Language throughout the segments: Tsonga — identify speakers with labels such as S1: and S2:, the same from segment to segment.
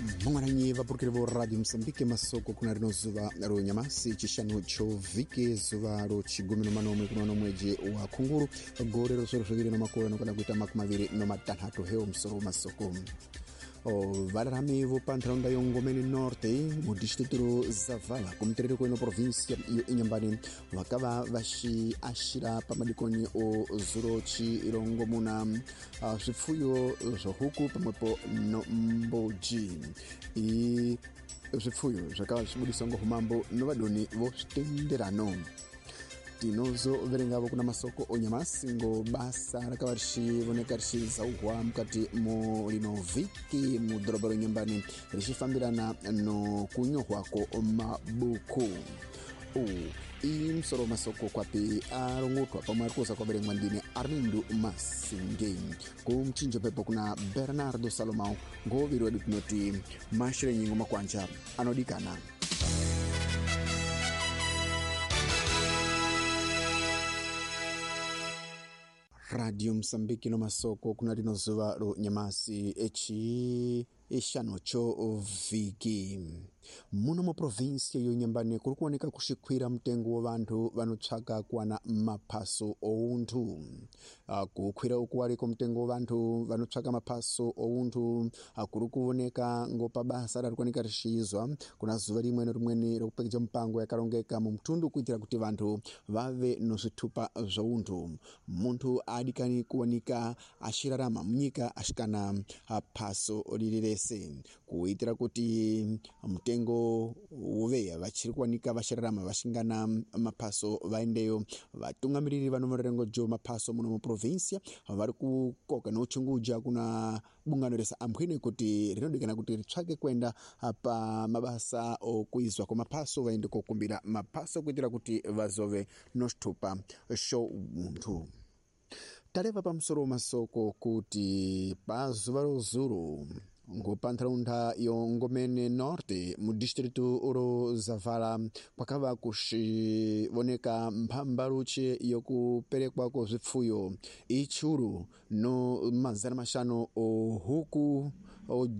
S1: Mangwananyi vapurukiri vo Radio Mosambike, masoko kuna rino zuva ro nyamasi chishanu cho vhiki, zuva ro chigumi no manomwe kuno mweji wa khunguru gore ro swero zviviri no makore anokwana kuita 25 heo musoro masoko. Vararami vo pantharaunda yo Ngomeni Norte mu distrito ro Zavala kumuterero kweno província yo Inhambane vakava vaxiaxira pamadikoni o zuro chirongomuna zvipfuyo zvohuku pamwepo no mbuji. I zvipfuyo zvakava zvichibudiswa ngo humambo no vadoni vo zvitenderano. Tinozoverengavo kuna masoko onyamasi ngo basa rakava richivoneka richizauhwa mukati mo lino vhiki mu dhorobha ro Inhambane richifambirana no kunyohwako mabuku. Iyi musoro masoko kwapi arongotwa pamwe ari kuza kwaverengwa ndine Arlindo Masinge. Kumchinjo pepo kuna Bernardo Salomão ngoviri wedu tinoti mashirenyi ngo makwanja anodikana. Radio Mosambiki no masoko kuna rino zuva ro nyamasi echi ixano cho vhiki. Muno mu província yo Inhambane kuri kuoneka kuxikwira mutengo wa vanthu vanotsvaka kuwana maphaso ounthu. Kukwira uku wariko mutengo wa vanthu vanotsvaka maphaso ounthu kuri kuoneka ngo pabasa rari kuoneka rixizwa kuna zuva rimwe no rimweni rokupekeja mupango yakarongeka mu mutundu kuitira kuti vanthu vave no zvitupa zvounthu. Munthu aadikani kuwanika axirarama munyika axikana phaso riri rese kuitira kuti mutengo uveya vachiri kuwanika vachirarama vachingana maphaso vaendeyo. Vatungamiriri vanomurengo jo maphaso muno muprovinsia vari kukoka nouchunguja kuna bungano resa ambwene kuti rinodikana kuti ritsvake kuenda pa mabasa okuizwa kwa maphaso vaende kokumbira maphaso kuitira kuti vazove noxitupa xo munthu. Tareva pamusoro masoko kuti pazuva rozuru ngo pantharaunda yo Ngomene Norte mu distrito ro Zavala kwakava kuxivoneka mphambaluche yokuperekwa ko zvipfuyo ichuru no 500 ohuku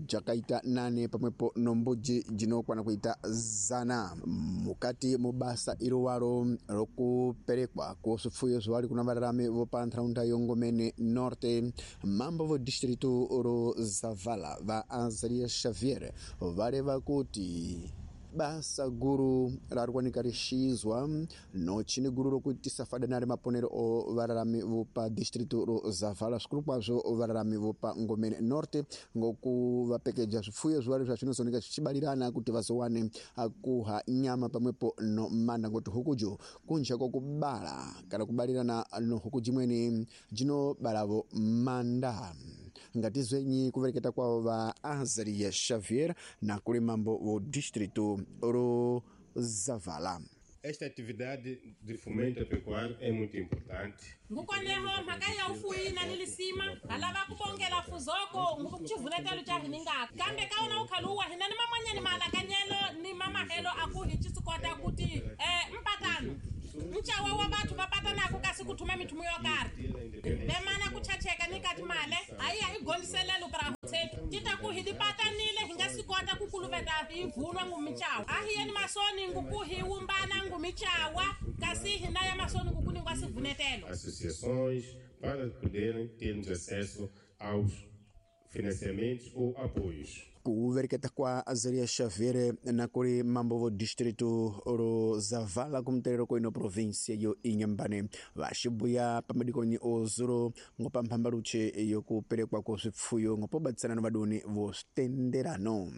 S1: jakaita 8 pamwepo no mbuji jinokwana kuita 100 mukati mu basa irowaro rokuperekwa ko zvipfuyo zviwali kuna vararami vo pantharaunda yo Ngomene Norte. Mambo vo distrito ro Zavala va Azaria Xavier vareva kuti basa guru rarikuwanika rixizwa no chini guru rokuitisa fadanari maponero o vararami vopa distrito ro Zavala zvikuru kwazvo vararami vopa Ngomene Norte ngokuvapekeja zvipfuyo zviwari zvazvinozooneka zvichibarirana kuti vazowane kuha nyama pamwepo no manda ngoti hukujo kunja kwokubala kana kubarirana no huku jimweni jinobalavo manda. Ngatizwenyi kuvereketa kwavo va Azaria Xavier na kuli mambo vo distrito ro Zavala.
S2: Esta atividade de fomento pecuário é muito importante.
S3: Ngukoneho mhaka ya ufuyi na nilisima alava kubongela fuzoko ngukuchivunetelo cha hininga kambe kaona ukhaluwa hina ni mamanyani malakanyelo ni mamahelo akuhi chisikota kuti mpatano mchawa wa bathu vapatanako kasi kuthuma mithumu yo karhi vemana kuchacheka ni kati male hayiya igondiselelo pra tsetu tita ku hi dipatanile hi nga si kota ku kuluveta hi vunwa ngumichawa a hi yeni masoni nguku hi wumbana ngumichawa kasi hina ya masoni nguku ningwa sivunetelo.
S2: Associações para poderem termos acesso aos financiamentos ou apoios.
S1: Kuvereketa kwa Azaria Xavier na kuri mambo vo distrito ro Zavala kumuterero koino província yo Inhambane vaxibuya pamadikoni ozuro ngopa mphambaluche yokuperekwa ko zvipfuyo ngopobatsana no vadoni vo zvitenderano.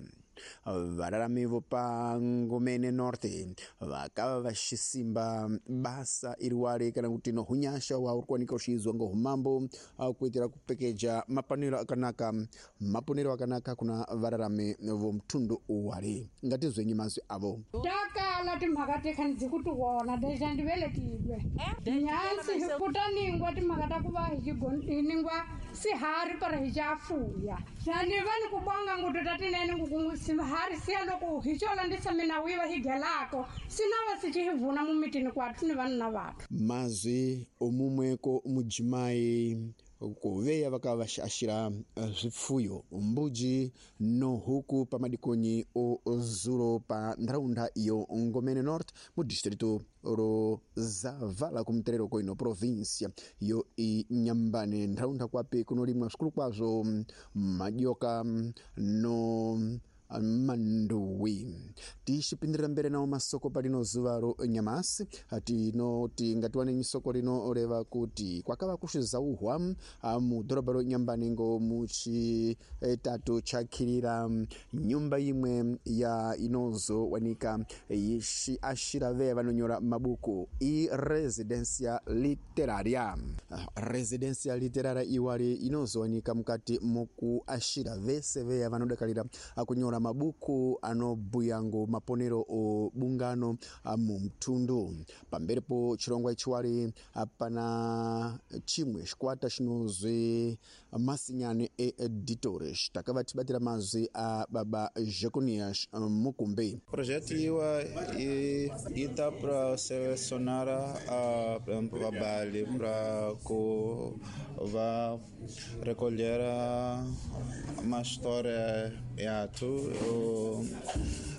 S1: Vararami vopa Ngomene Norte vakava vaxisimba basa iriwari kana kuti no hunyasha wa uri kuwanika uxiizwa ngo humambo kuitira kupekeja mapanero akanaka maponero akanaka kuna vararami vo mtundu uwari. Ngatizwenyi mazwi avo.
S4: Takala timhaka tekhanidzi kuti wona deja ndiveletilwe nyansi kutaningwa timhaka ta kuva hiningwa sihari para hichafuya xaniva ni kubonga nguto tatinene nguku sihari siya loko hichola ndisamina wiva higelako sinava sichihivuna mumitini kwathu ni vanna vathu.
S1: Mazwi omumweko mujimai kuveya vakava zvifuyo mbuji no huku pamadikonyi o zulo pa ntharaunda yo Ngomene North mu distrito ro Zavala kumterero koino província yo Inhambane, ntharaunda kwapi kunolimwa swikulu kwazvo madyoka no manduwi. Tixipindirira mbere nawo masoko palino zuva ro nyamasi tinoti ngatiwanenyi soko lino reva kuti kwakava kuxizauhwa mu dhorobha ro Inhambane ngo muchitatu chakhirira nyumba imwe ya inozowanika yixiaxira veya vanonyora mabuku i residencia literaria. Residencia literaria iwali inozowanika mukati mokuaxira vese veya vanodakalira akunyora mabuku anobhuya ngo maponero o bungano mu mtundu. Pamberipo chirongwa ichiwali pana chimwe xikwata xinozwi Masinyane Editores takavatibatira mazwi a baba Jeconias Mukumbi.
S5: Projeto iwa ita para selecionar a trabalho para que vá recolher uma história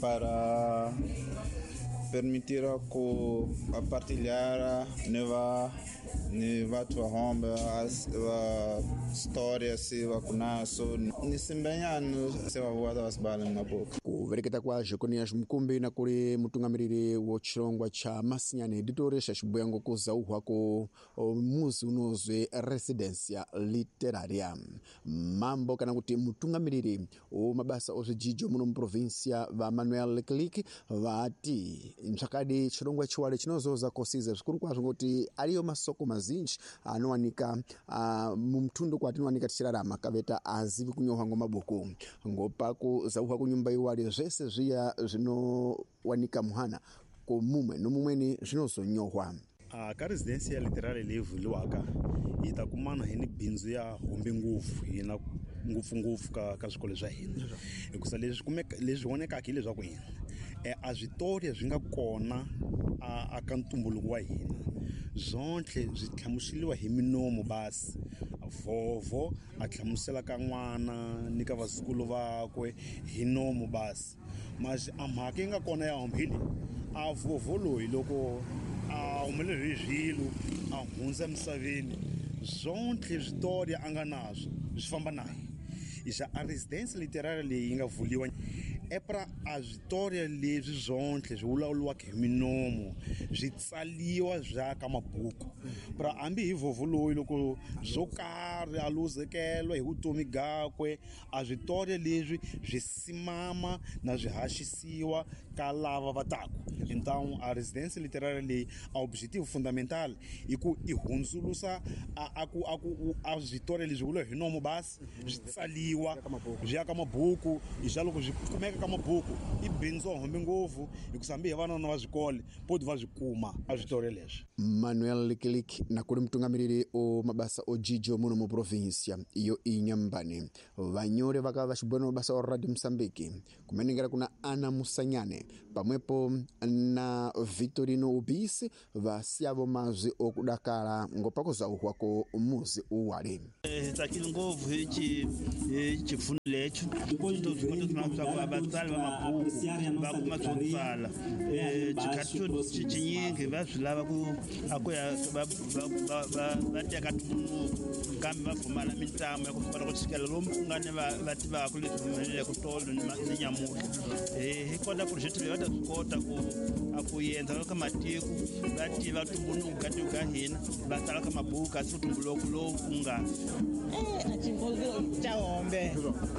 S5: para permitir que a partilhar neva neva tua romba a história se va kunaso nisimbenyano se va voa vasibala mabuku.
S1: Kuvereketa kwa Jeconias Mukumbi na kuli mutungamiriri wo chirongwa cha Masinyane Editores axibuya ngokuzauhwa ku muzi unozwi Residencia Literaria. Mambo kana kuti mutungamiriri wo mabasa ozvijijo muno muprovinsia va Manuel Leclerc vati mtsvakadi chirongwa chiwale chinozoza kosiza zvikuru kwazvo ngoti ariyo masoko mazinji anowanika mumtundu kwatinowanika tichirarama kaveta azivi kunyorwa ngomabuku ngopakuzauhwa kunyumba iwali zvese zviya zvinowanika muhana komumwe nomumweni zvinozonyorwa.
S6: Ka residencia literary leyi vuliwaka yi ta kumana hi ni bindzu ya hombe ngopfu hina ngopfungopfu ka swikolo swa hina hikusa leswi kumeka leswi vonekaka hileswaku hina a switori swi nga kona a ka ntumbuluko wa hina zonke swi hlamuseliwa hi minomo basi vhovho a hlamusela ka n'wana ni ka vazukulu vakwe hi nomo basi masi a mhaka yi nga kona ya hombe hi leyi a vhovho loyi loko a humelele hi swilo a hundza emisaveni zonke switori a nga naswo swi famba naye xa a residence literary leyi yi nga vuliwa epra a switori leswi zonke swi vulavuriwaka hi minomo swi tsaliwa swa ka mabuku pra hambi hi vhovho loyi loko swo karhi a luzekelwa hi vutomi gakwe a switori leswi swi simama na swi haxisiwa ka lava va taku. Então a residência literária leyi a objetivo fundamental i ku i hundzulusa a ku a ku a switori leswi vula hi nomo basi swi tsaliwa swi ya ka mabuku hi xa loko swi kumeka ka mabuku i bindzu hombe ngopfu hikusa hambi hi vanana va swikole poti va swi kuma a switori leswi.
S1: Manuel Leclerc na kuli mutungamiriri o mabasa o jijo muno mu província yo Inhambane vanyore vakava vaxibwena mabasa o Radio Mozambique kumenengera kuna Ana Musanyane pamwepo na Vitorino Ubisi vasiyavo mazwi okudakala ngopakuzauhwa ko muzi uwale.
S7: Tsakile ngopfu hi xipfuno lexo kota vatsali va mabuku va kuma swo tsala xikhathi xo xinyingi va swi lava ku a ku ya va teka ntumbuluko kambe va pfumala mitlangu ya ku kota ku tshikela lomu ku nga ni va tivaka leswi humeleleke tolo ni nyamuhla hi kota project leyi va ta swi kota ku a ku endza ka matiko va tiva ntumbuluko ka tiko ka hina va tsala ka mabuku kasi ntumbuluko lowu ku nga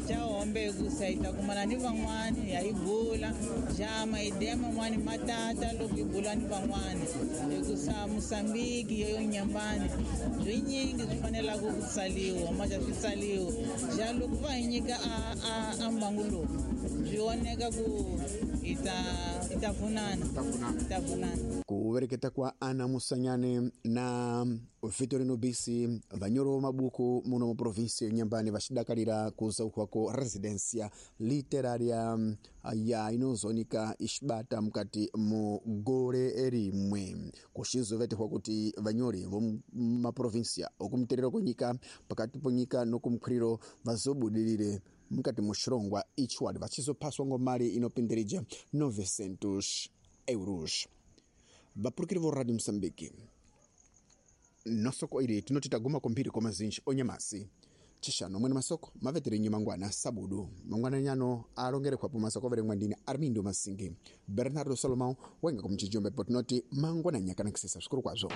S8: Chahombe kusaita kumana ni van'wani ya ibula jama ideya man'wani matata loko ibula ni van'wani hikusa Mozambique yo Inhambane swinyingi swi fanelaka ku tsaliwa maxa swi tsaliwa ja loko va hi nyika a mbangu lowu swi voneka ku hi ta pfunana.
S1: Kuvereketa kwa Ana Musanyane na Vitorino Bisi, vanyoro mabuku muno mu provinsi ya Inhambane vacidakalira kuzaukhwako residencia literaria ya inozonika ixibata mukati mu gole rimwe, kuxizovetehwa kuti vanyori vomumaprovinsia okumterero kwenyika, pakati ponyika nokumkhwiriro vazobudirire mukati mu xirongwa ichiwali vachizophaswa ngomali inopindirija 900 euros. Vapurukiri vo Radio Mosambiki, nosoko ili tinoti taguma kumphiri kwa mazinji onyamasi chixano mwene masoko mavetere mangwana sabudu mangwana nyano alongerekhwapo masoko averengwa ndine Armindo Masingi, Bernardo Salomão wenga kumchijombe po tinoti mangwana nyakanakisesa svikuru kwazvo.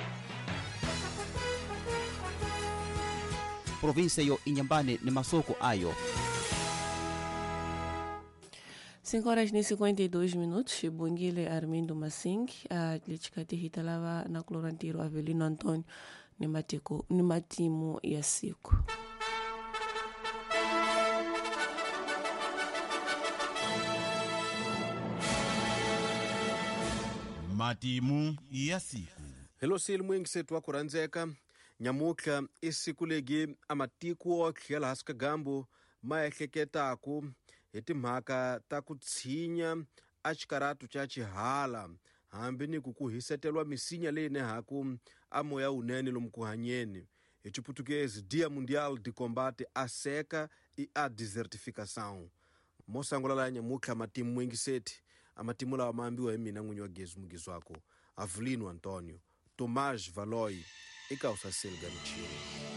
S9: Província yo Inhambane ni masoko ayo.
S10: 5 horas e 52 minutos, Xibungile Armindo Massing, a lichikati hitalava na Clorantiro Avelino Antônio ni matimu ya siku.
S11: Matimu ya siku.
S12: Hello sili mwingisetu wa kurandzeka nyamutlha i siku legi a matiko wa tlhela hansi ka gambu ma ehleketaku hi timhaka ta ku tshinya a xikaratu xa xihala hambi ni ku ku hisetelwa misinya leyi nehaku a moya wunene lomu ku hanyeni. Hi Chiputukezi, Dia Mundial de Combate à Seca e à Desertificação. Mo sangula la nyamutlha matimu mwingiseti a matimu lawa ma ambiwa hi mina n'winyi wa gezi mugezi wako Avelino Antonio Tomás Valoi eka usaseli ga michini.